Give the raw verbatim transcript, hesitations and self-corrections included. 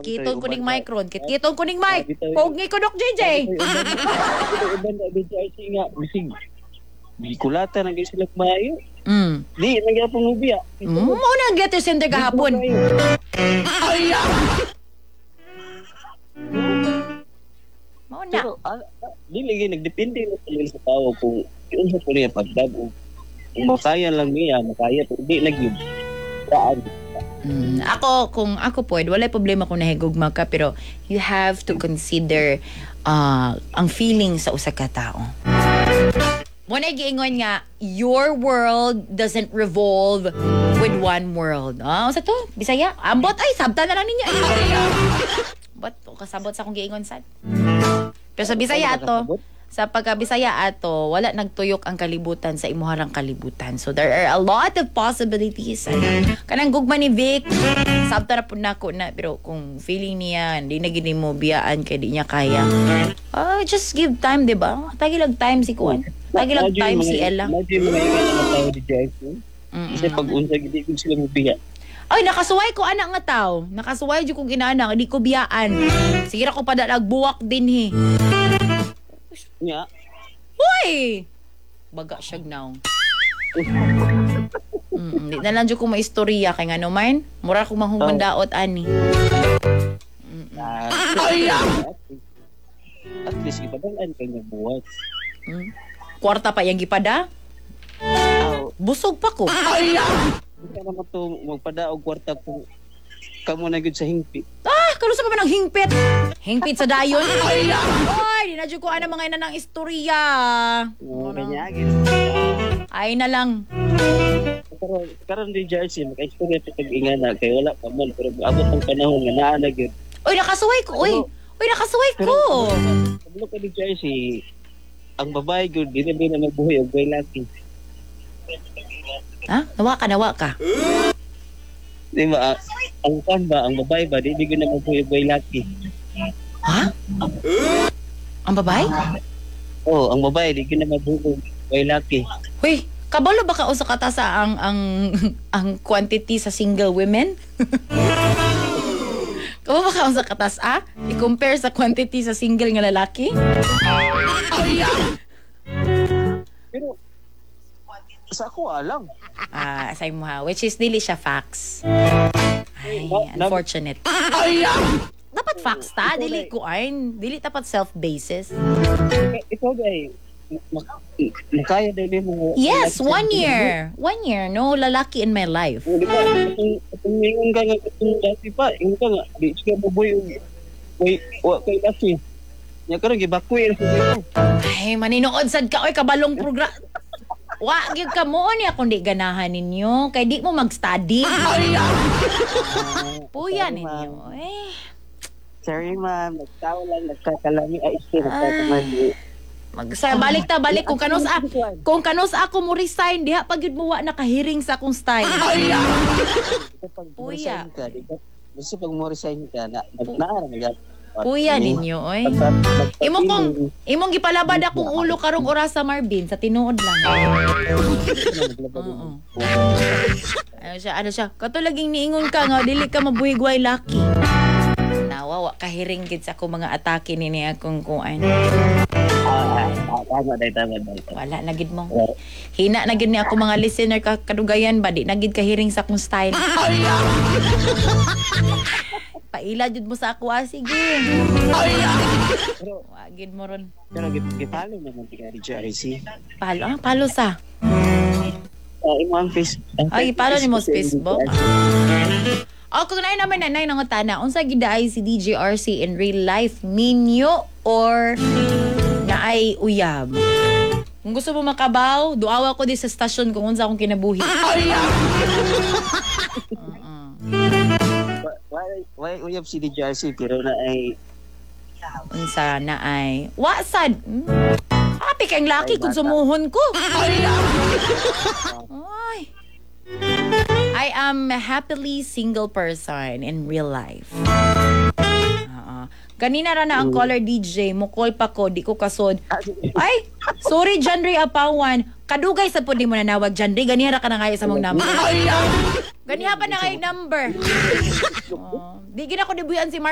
Kitkiton ko ning mic ron. Kitkiton ko ning mic. Bitaw- Pogi ko Dok J J. Bitaw uban na D J R C nga bisig gikulata na gyud sila maayo. Mm. Di na gyapon mo biya. Mm, mao na ang letter sender gahapon. Mao na. Pero ah, ah, dili gyud, nagdepende na talaga sa tao kung unsa po niya pagdab-o. Kung makaya lang niya, makaya, pero di na gyud. Saan? Mm, ako, kung ako po, wala problema kung nahigugma ka, pero you have to consider uh, ang feeling sa usa ka tao. Mao na giingon nga, your world doesn't revolve with one world. Ah, unsa to? Bisaya? Ambot ay, sabta na lang ninyo. Ay, ambot, kasabot sa akong giingon sad. Pero sa Bisaya ato, sa pagka Bisaya ato, wala nagtuyok ang kalibutan sa imuharang kalibutan. So there are a lot of possibilities. Ano, kanang gugma ni Vic, sabta na po nako na, pero kung feeling niya, hindi na gini mo biyaan kay di niya kaya. Ah, just give time, di ba? Tagi lang time si Kuan. Tagi lang time si Ella. Imagine mga ingan nga tao, D J R C. Mm-mm. Kasi pag unsa gid gid sila mobiya. Ay, nakasuway ko anak nga tao. Nakasuway jud kong inanak, di ko biyaan. Sige ra ko padalag buwak din he. Nya, Hoy! Baga siya now. Mm, di na lang jud ko maistorya kay ngano man. Mura ko mahungandaot ani. Ah, at least ipadal-an kay nga buhat. Mm. Kwarta pa yang gipada. Aw, Busog pa ko. hindi ka naman to magpada og kwarta kung kamo na gyud sa hingpit. Ah, kanusa pa man ang hingpit? Hingpit sa dayon. Ay, di na jud ko ana mga ina ng istorya. Oh, kanya gyud. Ay na lang. Karon karon di jersey maka-istorya ta kag ingana kay wala pa man, pero abot ang panahon nga naa na gyud. Uy, nakasuway ko. Uy, uy, nakasuway ko. Kabalo ka, D J R C, ang babae gyud di na di na mabuhi og way laki. Ha? Nawa ka, nawa ka. Di ba? Ah, ang kan ba, ang babae ba di di gyud na mabuhi og way laki. Ha? Ang babae? Oh, ang babae di gyud na mabuhi og way laki. Uy, kabalo ba ka usa ka sa ang ang ang quantity sa single women? Kabalo ba ka usa ka ah? I-compare sa quantity sa single nga lalaki? Pero sa ako alam. Ah, sa imo ha, which is dili siya facts. Ay, unfortunate. Dapat facts ta, dili ko ay, dili dapat self basis. Ikaw gay mak- makaya dili mo? Yes, one year. One year, no lalaki in my life. Oh, di ba? Itong itong ingon ka nga itong dati pa, ingon ka nga di siya mabuhi og way wa kay laki. Nya karon gibakwil sa imo. Ay, maninood sad ka oy, kabalong program. Wa gyud ka mo ni akong di ganahan ninyo kay di mo mag-study. Puya ninyo. Eh, Sorry ma'am, nagtawa lang, nagkakalami ay isti nagkakamali. Mag sa balik ta balik kung kanus a kung kanus ako mo resign diha pag gyud mo wa nakahiring sa akong style. Basta pag Puya. mo-resign ka, di ba? Basta pag mo resign ka na nagnaara na Puya ninyo oy. Imo kong imong gipalabad akong ulo karong orasa, Marvin, sa tinuod lang. Oo. Ano siya, ano siya? Kato laging niingon ka nga dili ka mabuhigway laki. Nawa wa kahiring gid sa akong mga atake ni ni akong kuan. Ah, ah, tama day, tama day. Wala na gid mo. Hina na gid ni ako mga listener ka kadugayan ba, di na gid kahiring sa akong style. Paila jud mo sa ako ah, sige. Pero Wa gid mo ron. pero gi- gipalo naman ti ka D J R C. Palo ah, palo sa. Ah, imo ang face. Ang Ay, ipalo nimo sa Facebook. D J R C. O kung naay naman na nay nangutana, unsa gid ay si D J R C in real life, minyo or naay uyab? Kung gusto mo makabaw, duawa ko di sa stasyon kung unsa akong kinabuhi. Oo. Why why uyab si D J R C pero na ay Unsa na ay wa sad. Hmm. Happy kang laki Ay, kung bata. sumuhon ko. Ay. I am a happily single person in real life. Oo. Ganina ra na ang caller D J, mo call pa ko, di ko kasod. Ay, sorry John Ray Apawan. Kadugay sa pud di mo nanawag, John Ray, ganiha ra ka na ngayo sa mong number. Ganiha pa na ngayo number. Oh, di gina ko dibuyan si Mark.